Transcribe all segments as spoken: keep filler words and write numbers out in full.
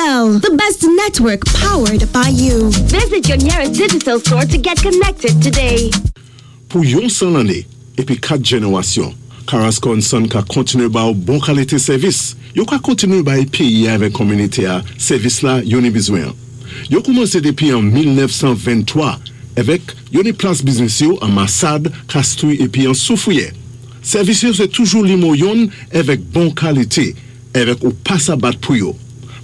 Digicel, the best network powered by you. Visit your nearest Digicel store to get connected today. Pou yon san lanné épi kat jénéwasyon, Carrasco and Son ka kontiné ba ou bon kalité sèvis. Yo ka kontiné bay péyi avèk kominité-a sèvis la yo ni bizwen. Yo koumansé dépi an mil nèf san venntwa avèk yo ni plas biznis yo an Massade, Castries épi an Soufrière. Sèvis yo sé toujou nimewo youn avèk bon kalité, avèk ou pa sa bat pou yo.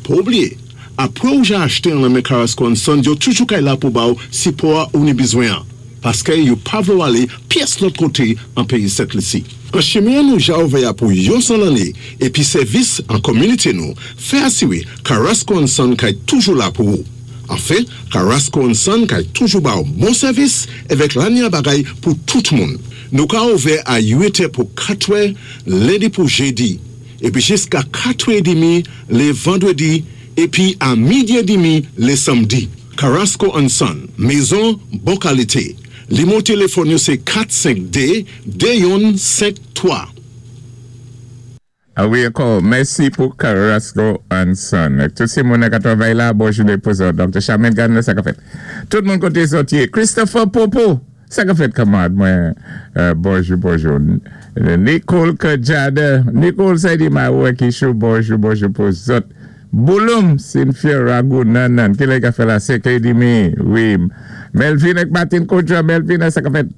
Pa oubliyé, apwé ou ja achté an nan men Carrasco and Son, yo toujou kay la pou ba ou sipò ou ni bizwen. Paské yo pa vlé ou alé pyès lòt koté an péyi Sent Lisi. An chimen nou ja ouvè pou yon san lanné épi sèvis an kominité nou, fè asiwé Carrasco and Son kay toujou la pou ou. Anfen, Carrasco and Son kay toujou ba ou bon sèvis avèk lanya bagay pou tout moun. Nou ka ouvè a uit è pou katwè, lendi pou jédi, épi jiska katwè édmi lé vandwédi, épi a midi édmi lé sanmdi. Carrasco and Son, mézon bon kalité. Nimewo téléfòn yo sé kat senk dé de youn senk twa. A wi, ankò, mèsi pou Carrasco and Son. Tout sé moun ki travay la, bonjou pou zòt. Doktè Charmaine Gardner, sa ka fèt. Tout moun koté zòt yé. Christopher Popo, sa ka fèt, kanmarad, mwen, euh, bonjou, bonjou. Nicole Kajada, Nicole Saidi Maoué Kishou, bonjou, bonjou pou zòt. Bouloum, Cynthia Ragou, nanan, ki lè ka fè la, senk édmi, wi. Melvin ak Martin Kodja, Melvin, sa ka fèt.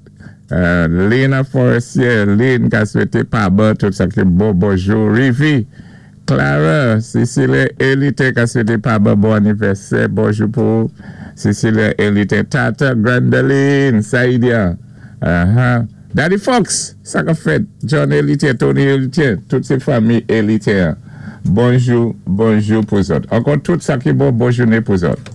Euh, Lena Forestier, Lynn ka swété pa bon, tout sa ki bon, bonjou. Rivi, Clara, Cecilia Elite ka swété pa bon, bon anivèsè, bonjou pou Cecilia Elite. Tata Grandeline, Saïdia, uh-huh. Daddy Fox, sa ka fèt. John Elite, Tony Elite, tout sé fanmi Elite. Bonjou, bonjou pou zòt. Ankò tout sa ki bon, bon jounen pou zòt.